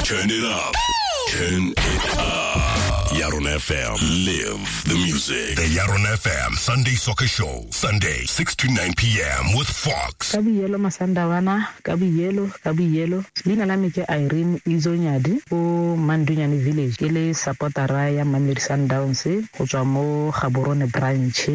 Turn it up. Turn it up. Yaron FM. Live the music. The Yaron FM Sunday Soccer Show. Sunday, 6 to 9 p.m. with Fox. Ka boyelo Masandawana, ka boyelo, ka boyelo. Leina la me ke Irene Izonyadi ko Mandunyane Village. Ke le supportera ya Mamelodi Sundowns go tswa mo Gaborone branch.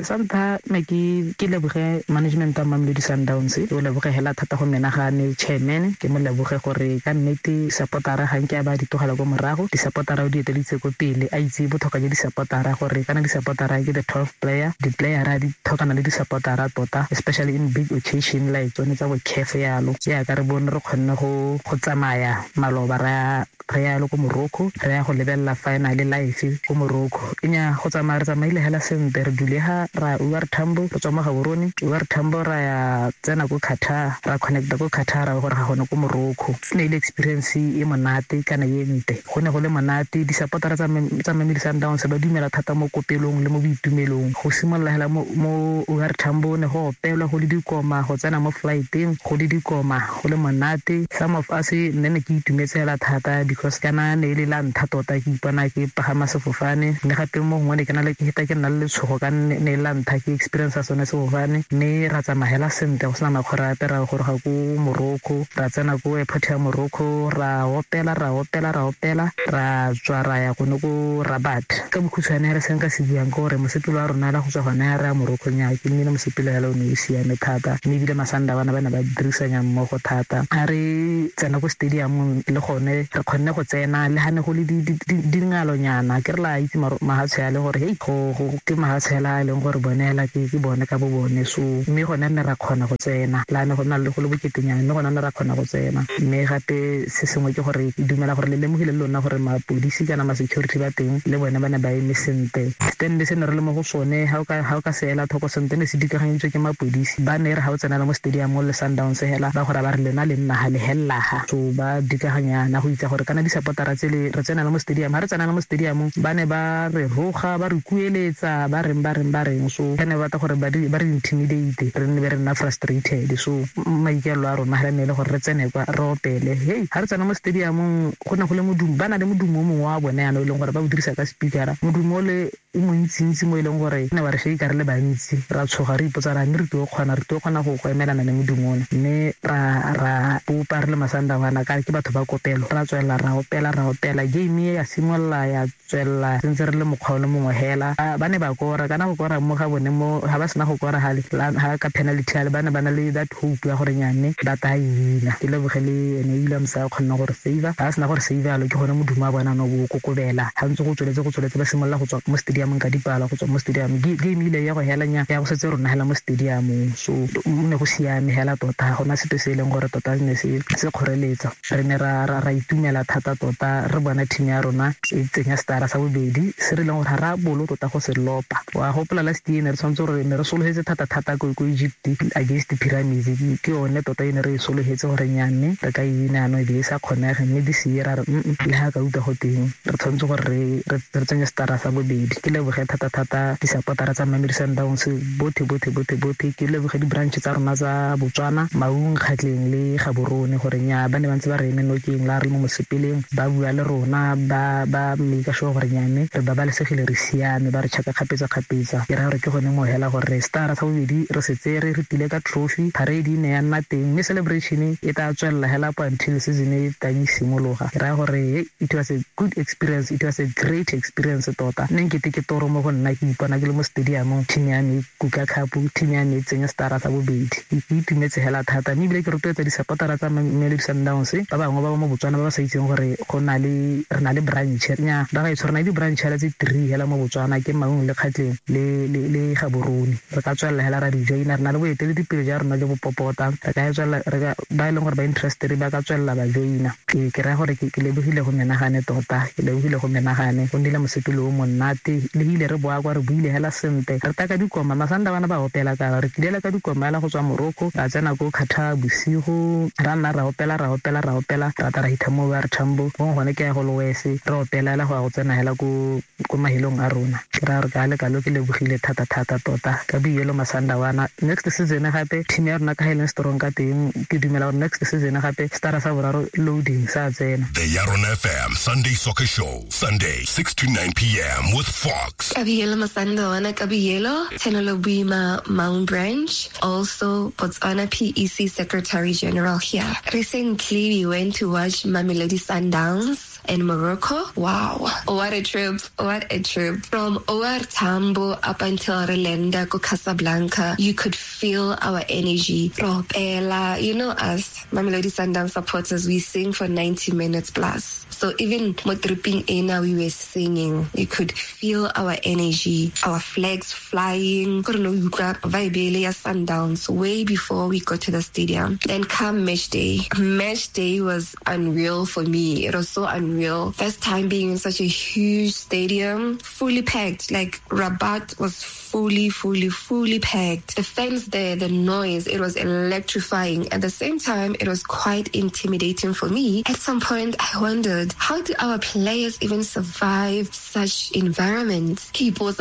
Sa ntlha ne ke leboge management ya Mamelodi Sundowns. Ke o leboge hela thata go menagane chairman, ke mo leboge gore ka nnete supportera ga nke a ba di tlogela ko morago, di-supportera o di eteleditse ko pele, a itse botlhokwa jwa di-supportera gore kana di-supportera ke the 12 player, di-playera di tlhokana le di-supportera tota, especially in big occasion like tsone tsa bo CAF yalo. Jaaka re bone re kgonne go tsamaya maloba re ya le ko Morocco, re ya go lebelela final live ko Morocco. Nya go tsamaya re tsamaile hela sentle, re dule ha ra OR Tambo, re tswa mo Gaborone, OR Tambo ra ya tsena ko Qatar, ra connecta ko Qatar ra gore ga gone ko Morocco. E ne e le experience e monate kana e ntle, go ne go le monate. Di-supportera tsa Mamelodi Sundowns ba dumela thata mo kopelong le mo boitumelong. Go simolola hela mo OR Tambo ne go opelwa go le dikoma, go tsena mo flighteng go le dikoma, go le monate. Some of us nne ne ke itumetse hela thata because kana ne e le la ntlha tota ke ipona ke pagama sefofane, mme gape mo gongwe ne ke na le ke heta ke nna le letshogo ka ne e le la ntlha ke experience sone sefofane. Mme ra tsamaya hela sentle go sena makgwere ape, ra goroga ko Morocco, ra tsena ko airport ya Morocco, ra opela, ra opela, ra opela, ra tswa ra ya gone ko Rabat. Ka bokhutshwane re se nka se buang ke gore mosepelo wa rona la go tswa gone re ya Morocco nya ke nnile mosepelo hela o ne o siame thata, mme ebile Masandawana ba ne ba dirisanya mmogo thata. Ha re tsena ko stadiumong le gone re kgonne go tsena le ha ne go le dingalonyana, ke re la itse mahatshe a le gore hei go ke mahatshe a e leng gore bone hela ke bone ka bo bone. So mme gone ne ra kgona go tsena la ne go nna le go le boketenyana, mme gone ne ra kgona go tsena. Mme gape se sengwe ke gore ke dumela gore le lemogile le lona gore mapodisi kana ma-security ba teng le bone ba ne ba eme sentle. Stand se ne re le mo go sone ha o ka se ela thoko sentle ne se dikaganyeditswe ke mapodisi, ba ne re ha o tsena le mo stadium le Sundowns hela ba gore ba re lena le nna ha le hella ha. So ba dikaganyana go itse gore kana di-supportera tse le re tsena le mo stadium, ha re tsena le mo stadium ba ne ba re roga, ba re kueletsa, ba reng ba reng ba reng. So ba ne ba batla gore ba re intimidate, re nne be re nna frustrated. So maikaelelo a rona ha ne le gore re tsene kwa re opele. Hey, ha re tsena mo stadiumong go ne go le modumo, ba na le modumo o mongwe wa bone yana o e leng gore ba o dirisa ka speakera, modumo o le o montsintsi mo e leng gore ne wa re shake re le bantsi, ra tshoga re ipotsa ra mme re tlo kgona, re tlo kgona go emelana le modumo ona. Mme ra bopa re le Masandawana ka ke batho ba kopelo, ra tswelela ra opela, ra opela. Game e ya simolola ya tswelela sentse re le mokgwa o le mongwe hela. Ba ne ba kora, kana go kora mo ga bone mo ha ba sena go kora hale ha ka penalty hale ba ne ba na le that hope ya gore nyane ba ta e wina. Ke leboge le ene Williams a kgonne gore save, ha sena gore save alo ke gone modumo wa bona no bo kokobela. Ha ntse go tsweletse go tsweletse ba simolola go tswa mo stadiumong ka dipala, go tswa mo stadium game ile ya go hela nya ya go setse rona hela mo stadiumong. So ne go siame hela tota, ga gona sepe se e leng gore tota ne se kgoreletsa. Re ne ra itumela thata tota re bona team ya rona e tsenya stara sa bobedi se re leng gore ga ra bolo tota go se lopa. Wa gopola last year ne re tshwanetse gore ne re sologetse thata thata ko Egypt against Pyramids, ke yone tota e ne re e sologetse gore nyanne re ka e wina ano e be e sa kgonege. Mme this year ra re le ha ka utlwa go teng re tshwanetse gore re tsenye stara sa bobedi. Ke leboge thata thata di-supportera tsa Mamelodi Sundowns bothe bothe bothe bothe, ke leboge di-branch tsa rona tsa Botswana, Maung, Kgatleng le Gaborone gore nya ba ne ba ntse ba re eme nokeng la re mo mosepeleng, ba bua le rona, ba make sure gore nyane re babalesegile, re siame, ba re checka kgapetsa kgapetsa. Ke raya gore ke gone mo hela gore stara sa bobedi re se tsere, re tile ka trophy, parade e ne ya nna teng, mme celebration e tla tswelela hela up until season e tang e simologa. Ke raya gore it was a good experience, it was a great experience tota. Nne nkete ke toro mo go nna ke ipona ke le mo stadiumong, team ya me kuka cup, team ya me e tsenya stara sa bobedi. Ke itumetse hela thata, mme ebile ke rotloetsa di-supportera tsa Mamelodi Sundowns ba bangwe ba ba mo Botswana ba ba sa itseng gore go na le re na le branch nya ba gaetsho, re na le di-branch hela tse 3 hela mo Botswana, ke Maung le Kgatleng le Gaborone. Re ka tswelela hela ra di joina, re na le boeteledipele jwa rona jo bo popota, re ka tswelela, re ka ba e leng gore ba interested ba ka tswelela ba joina. Ke raya gore ke lebogile lebogile go menagane tota, ke lebogile go menagane. Go nnile mosepele o monate, le ile re boa kwa re buile hela sentle. Re taka dikoma, Masanda bana ba opela ka re tlile ka dikoma hela go tswa Morocco, ra tsena ko Qatar bosigo, ra nna ra opela ra opela ra opela, ra tla ra hitha mo ba re Tambo, gongwe gone ke ya go Lowese, re opela hela go ya go tsena hela ko ko mahelong a rona. Ke raya gore ka le kalo ke lebogile thata thata tota ka boielo Masandawana. Next season gape team ya rona ka ha e leng strong ka teng, ke dumela gore next season gape stara sa boraro loading sa tsena. The Yaron FM Sunday Soccer Show, Sunday 6 to 9 p.m. with Fox. Kabiyelo Masandawana Kabiyelo, Tenolo Buima Maun Branch, also Botswana PEC Secretary General here. Recently, we went to watch Mamelodi Sundowns in Morocco. Wow, what a trip, what a trip. From OR Tambo up until Relenda, go Casablanca, you could feel our energy. Ropela, you know us, Mamelodi Sundowns supporters, we sing for 90 minutes plus. So even mo tripping ena, we were singing. You could feel our energy, our flags flying. Kore no utlwa vibe ele ya Sundowns way before we got to the stadium. Then come match day. Match day was unreal for me. It was so unreal. First time being in such a huge stadium, fully packed. Like Rabat was fully, fully, fully packed. The fans there, the noise, it was electrifying. At the same time, it was quite intimidating for me. At some point, I wondered, how do our players even survive such environments? Because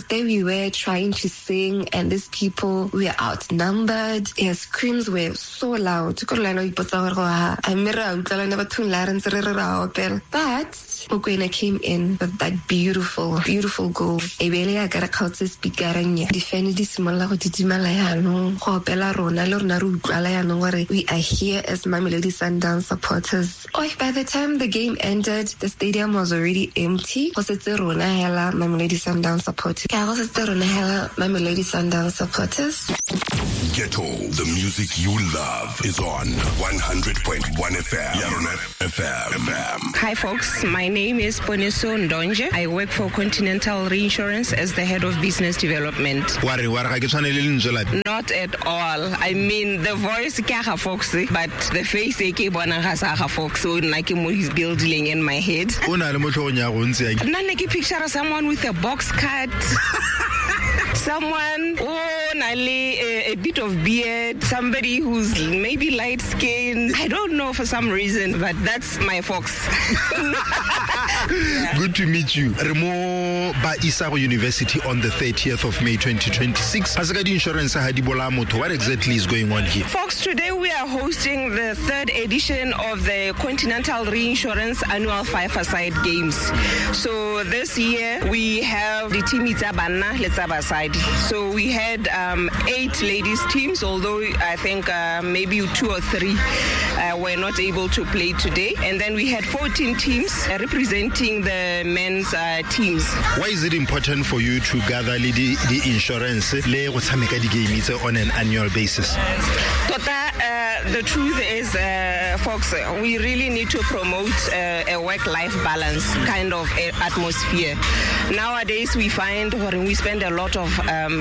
there we were trying to sing, and these people were outnumbered. Their screams were so loud. But Mokoena came in with that beautiful, beautiful goal. Ebele ya ka re kgaotse speakereng ya difene di simolola go didimala yaanong, go opela rona le rona re utlwala yaanong gore we are here as Mamelodi Sundowns supporters. Oh, by the time the game ended, the stadium was already empty. Go setse rona hela Mamelodi Sundowns supporters. Ka go setse rona hela Mamelodi Sundowns supporters. Ghetto, the music you love is on 100.1 FM. Yaron FM. Hi folks, my name is Poneso Ndonje. I work for Continental Reinsurance as the head of business development. Wa re wa re ga ke tshwane le lentswe la Not at all. I mean, the voice ke ga Fox, but the face e ke bonang ga sa ga Fox. So nna ke mo building in my head. O na le mo tlhogong ya go ntse yang. Nna ne ke picture someone with a box cut. Someone oh, nale a bit of beard, somebody who's maybe light skinned. I don't know for some reason, but that's my Fox. Yeah. Good to meet you. Re mo ba Isago University on the 30th of May 2026. Ga se ka di-insurance ha di bolaya motho. What exactly is going on here? Fox, today we are hosting the third edition of the Continental Reinsurance Annual Five-A-Side Games. So this year we have the team tsa banna le tsa basadi. So we had 8 ladies teams, although I think maybe 2 or 3 were not able to play today. And then we had 14 teams representing the men's teams. Why is it important for you to gather le di insurance le go tshameka di-game tse on an annual basis? Tota, the truth is, folks, we really need to promote a work-life balance kind of atmosphere. Nowadays, we find when we spend a lot of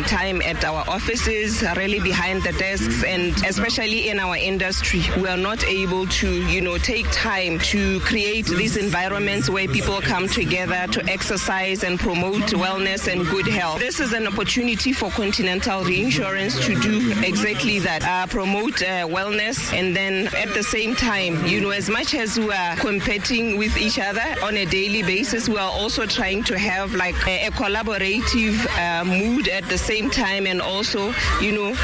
time at our offices, really behind the desks, and especially in our industry, we are not able to, you know, take time to create these environments where people come together to exercise and promote wellness and good health. This is an opportunity for Continental Reinsurance to do exactly that, promote wellness, and then at the same time, you know, as much as we are competing with each other on a daily basis, we are also trying to have like a collaborative mood at the same time, and also, you know,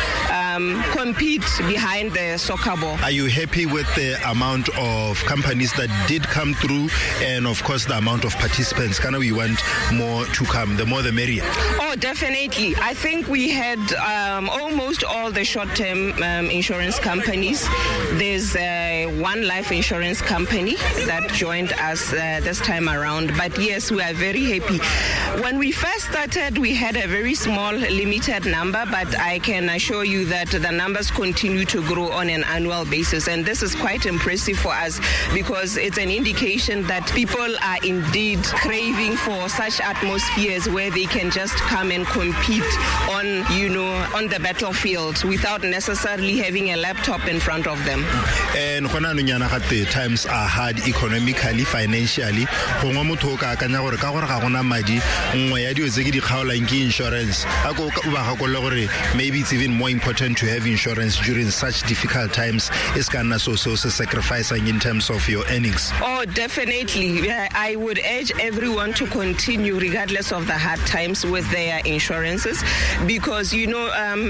compete behind the soccer ball. Are you happy with the amount of companies that did come through, and of course the amount of participants? Kind of we want more to come, the more the merrier. Oh, definitely. I think we had almost all the short-term insurance companies. There's one life insurance company that joined us this time around. But yes, we are very happy. When we first started, we had a very small, limited number, but I can assure you that But the numbers continue to grow on an annual basis. And this is quite impressive for us because it's an indication that people are indeed craving for such atmospheres where they can just come and compete on, you know, on the battlefield without necessarily having a laptop in front of them. And gona anong yana gate times are hard economically, financially. Gongwe motho o ka akanya gore ka gore ga gona madi, nngwe ya dilo tse ke di kgaolang ke insurance. A ko o ba gakolole gore maybe it's even more important to have insurance during such difficult times. E se ka nna so se o se sacrificing in terms of your earnings. Oh, definitely. Yeah, I would urge everyone to continue regardless of the hard times with their insurances because, you know,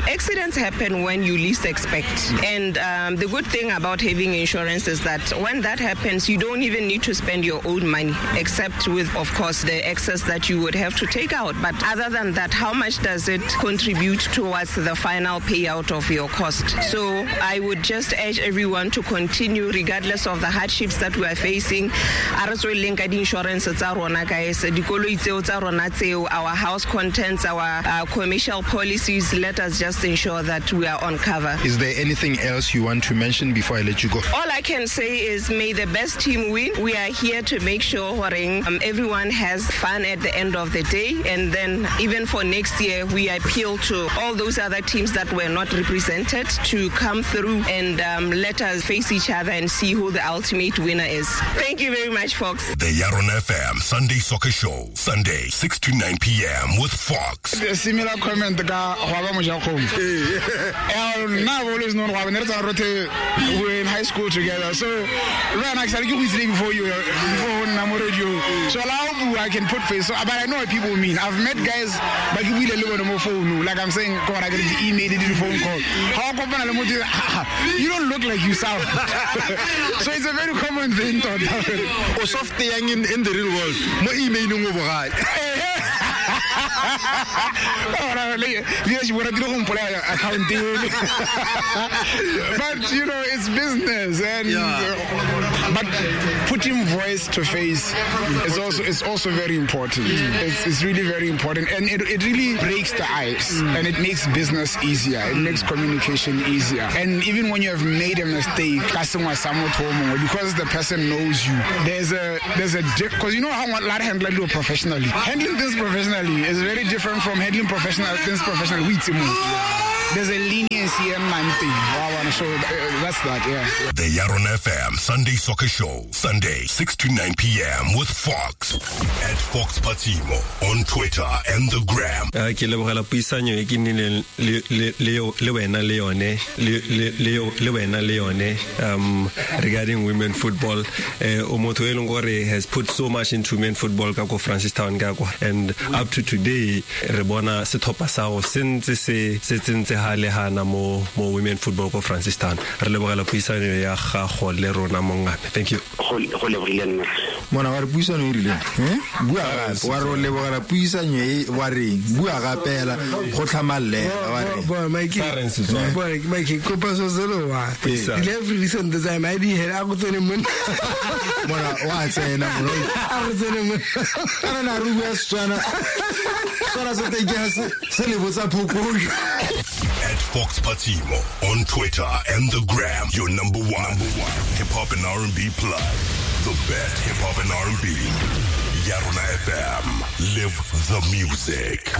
accidents happen when you least expect. And the good thing about having insurance is that when that happens, you don't even need to spend your own money, except with, of course, the excess that you would have to take out. But other than that, how much does it contribute towards the final payout of your cost? So I would just urge everyone to continue regardless of the hardships that we are facing. A re tsweleleng ka di-insurance tsa rona, guys. Dikoloi tseo tsa rona tseo, our house contents, our commercial policies, let us just ensure that we are on cover. Is there anything else you want to mention before I let you go? All I can say is may the best team win. We are here to make sure gore everyone has fun at the end of the day. And then even for next year, we appeal to all those other teams that were not represented to come through and let us face each other and see who the ultimate winner is. Thank you very much, Fox. The Yaron FM Sunday Soccer Show, Sunday, 6 to 9 p.m. with Fox. A similar comment ka go ba mojakgomo. Nna I've always known Gwaba, ne re tsamaya rotlhe, we were in high school together. So le wena ke sale ke go itsile before you, before o nna mo radio. So la o bua, I can put face. So, but I know what people mean. I've met guys ba ke buile le bone mo phone. Like I'm saying, ko ra ke di email le di phone call. Ha o kopana le motho, you don't look like you sound. So it's a very common thing tota. O soft yang in the real world. Mo emailing o bogale. Ora le leadership o ratile go mpolaya account ele. But you know, it's business and but putting voice to face is also very important. It's really very important, and it really breaks the ice and it makes business easier. It makes communication easier. And even when you have made a mistake, ka sengwe sa motho o mongwe, because the person knows you, there's a because you know how a lot handle dilo professionally. Handling things professionally is very different from handling professional things professionally. We itse motho. There's a leniency in my thing. So that's that, yeah. The Yaron FM Sunday Soccer Show, Sunday, 6 to 9 p.m. with Fox. At Fox Patimo on Twitter and the Gram. Ke lebogela puisanyo e ke nnileng le wena le yone le wena le yone regarding women football. O motho e leng gore has put so much into men football ka ko Francistown ka kwa, and up to today re bona setlhopha sa go se ntse se tsentse ha le hana mo women football ko Francistown. Re lebogela puisanyo ya gago le rona mongame. Thank you. Go lebogile nna. Mona wa re puisano e rileng, eh? Bua gape, wa re o lebogela puisanyo e wa reng? Bua gape go tlhamallela wa reng? Bo Mike, bo Mike, kopa so selo wa. Every recent time I di a go tsene monna. Mona wa tsena mona. A go tsene monna. Kana na re bua Setswana. Setswana se teng ke se le botsa phokojwe. At Fox Patimo on Twitter and the Gram, your number one hip hop and R&B plug. The best hip hop and R&B. Yarona FM. Live the music.